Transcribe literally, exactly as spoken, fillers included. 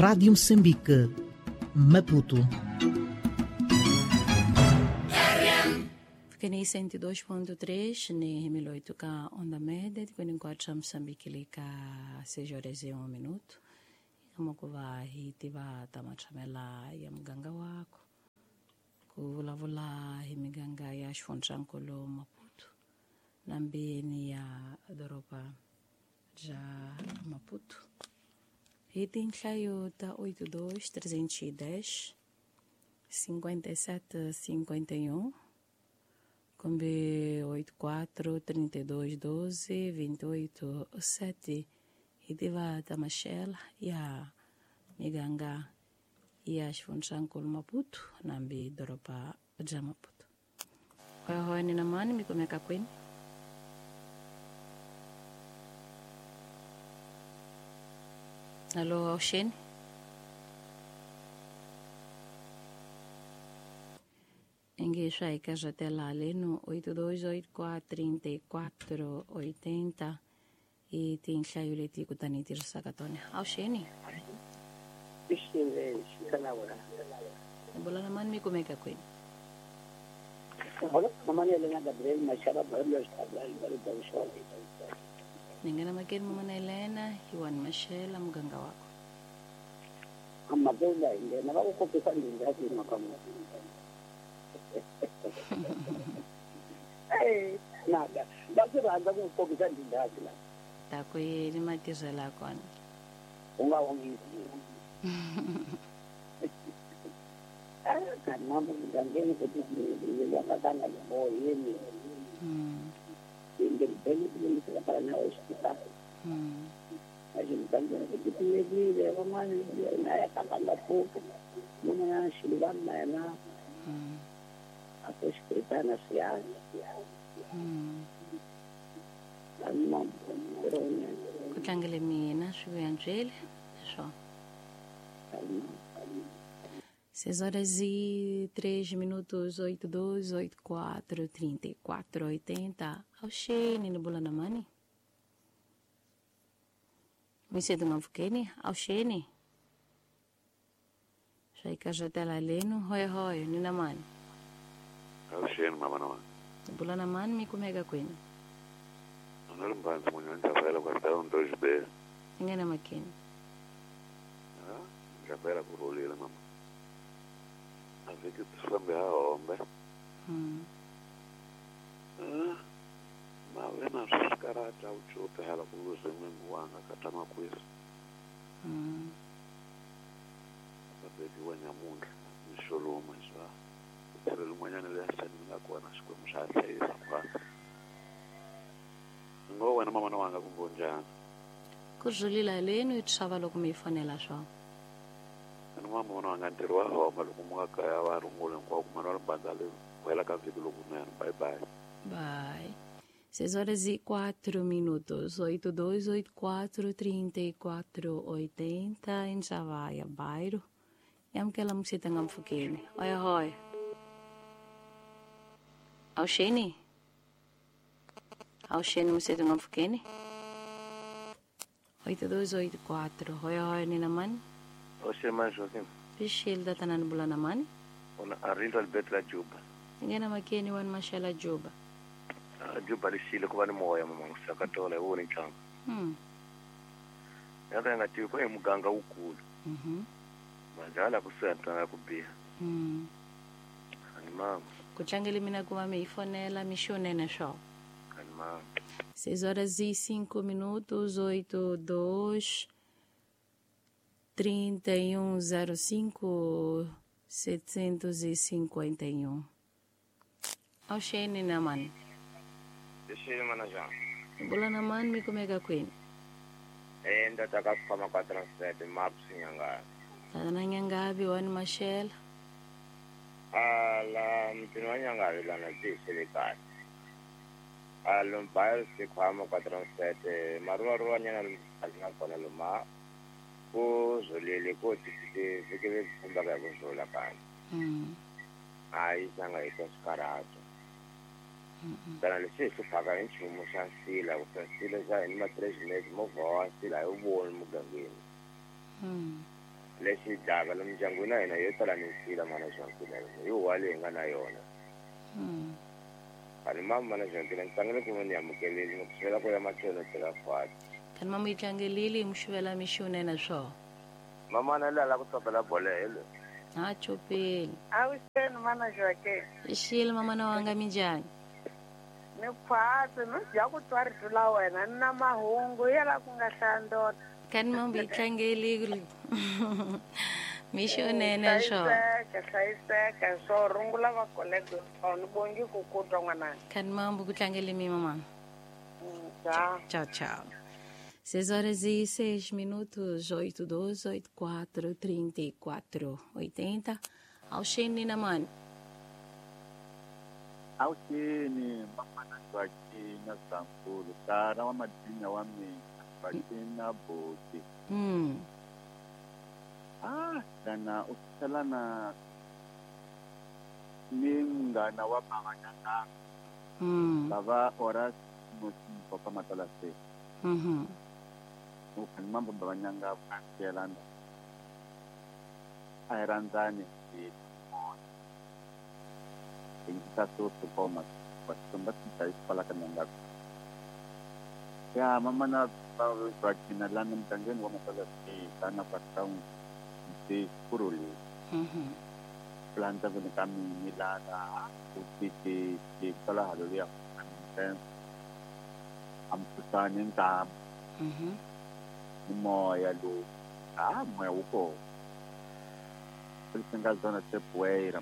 Rádio Moçambique, Maputo. Keni cento e dois ponto três ni mil oito ka onda média, de quatro Moçambique lika seis horas e um minuto. Kama kuva hiti va tamachamela ya muganga wako kuvulavula hi miganga ya xifundzhankulu Maputo na mbeni ya doroba ja Maputo. Hi tinhlayo ta oito dois trezentos e dez cinquenta e sete cinquenta e um kumbe oito quatro trinta e dois doze vinte e oito sete hitiva tamashela ya miganga ya xifundzhankulu Maputo nambi doroba ja Maputo. Hoy nina mani mikumeka kwini. Alô, Alxene? Enguixa aí que já até lá ali no oito dois oito quatro trinta e quatro oitenta e tem xayuleti kutaniti sakatone. Alxene? Bola na mano me como é que é coisa? Ningana makeri mama Helena, Iwan Mashela muganga wako. Amabela ingena bakukopisa ndingathi makamu. Eh, nada. Basiranda kukopisa ndingathi la. Takuyeni matizela kona. Ungawongisi. Ah, kana mugangeni kuti ndiyakatanga yini. Mm. Para na hospital. Mm. A gente vai que pedir, vamos na kanga pouco. Não na shilana na. Mm. A hospital na cia. Mm. Não, Kutlangele mina swi só. Seis horas e três minutos, oito, dois, oito, quatro, trinta e quatro, oitenta. Alxene, no Bula na Mani. Mse tungamfukeni, Alxene. Shaika jatela leno, hoi hoi, nina mani. Alxene, mama nawa. Bula na Mani, me kumega kwenu. Não mbanzi mwenye nchafela kwa sababu dois B. Ngena makini. Ah, nchafela kurulila mama. Aviki tusambe hao ombe. Mm. Ah, mavena skarata uchope hala kuluze mwengu wanga katama kwisi. Mm. Kapeki wanyamundu, nisholuma iswa. Utirelu mwanyane lesa ningakuwa na shukwe mshasa isa kwa. Ngo wena mama wanga kumbonjana. Kuzulila lenu itshava loko mi fonela swa. Ani mama wanga ntirho wa homa loko mu kaya va rungula hinkwako mara va bandza le wela ka vhiki lokunene. Bye bye. Bye. Seis horas e quatro minutos, oito dois oito quatro trinta e quatro oitenta em Javaia, bairro. Yamkela msita ngamfukeni. Oi hoi. Alxene? Alxene msita ngamfukeni. Oito dois oito quatro. Hoi hoi nina mani. Oxe mais Joaquim. Pixil da tanan bulana mani. Ona Arildo Alberto la Juba. Ngena makeni wan mashela Juba. Ah, Juba lishile kuba ni moya mama usakatola woni changa. Mm. Yaka ngati ko emuganga ukulu. Mhm. Majala kusenta kubia. Mm. Ani mama. Kuchangele mina kuma meifonela mishonene sho. Ani mama. Seis horas e cinco minutos, oito, dois, trinta e um, zero cinco, setecentos e cinquenta e um. Alxene na mani. Deixa mana já. Bula na mani me kumega kwini. Eh ndataka kufama kwa transfer maps nyanga. Tana nyangabi wani mashela. Ala mtini wa nyangabi lana jisele kahle. Alo mbayo sikhwama kwa transfer maruwa ruwa nyana alina kona luma. Kuzolele ko tisite vikele kufumba ka kuzola kana. Mm. Hayi sanga ikasikarato. Kana lesi siphaka nchumu xa nsila ku nsila xa hi ma três meses movha wa nsila a yi voni mugangeni. Mm. Lexi dlaka lomu ndyangwini wa hina yo tala minsila mana Joaquina hi huwa leyi hi nga na yona. Mm. Ani mama mana Joaquina ni tlangele ku va ni amukeleli ni ku xivela ku ya matlhelo tlhela fati. Kani mama yi tlangelile yi muxivela mixunene swo. Mamana la la ku tsopela bolo helo. Ha chopeli. Avuxeni mana Joaquina. Xile mamana wanga minjhani? Ni khwatsi no dya ku twa rito la wena ni na mahungu ya la ku nga hlaya ndona. Kani mama yi tlangelile. Mixunene swo. Hlayiseka hlayiseka swo rungula va kolege ni bongi ku ku twa n'wananga. Kani mama ku tlangele mi mama. Tchau. Tchau, tchau. Seis horas e seis minutos, oito, doze, oito, quatro, trinta e quatro, oitenta. Alxene Namani. Alxene, mamana Joaquina Sankulu, tara wa madina wa mina, Joaquina Boti. Hum. Ah, dana usalana ni munghana wa bavanyana. Hum. Bava ora papa matala se. Mhm. Ukani mambo bavanyanga vakelana. A hi rhandzani hi hi ta to koma va tsumba ta kwala ka nyanga. Ya mama na Joaquina lana mugangeni wa matala se tana pa town se kuruli. Mhm. Planta vone ka mini lana u ti ti ti kwala haleluya. Ampusani ntam. Mhm. Moya lo ah moya wu kona. Leswi nga zona se poeira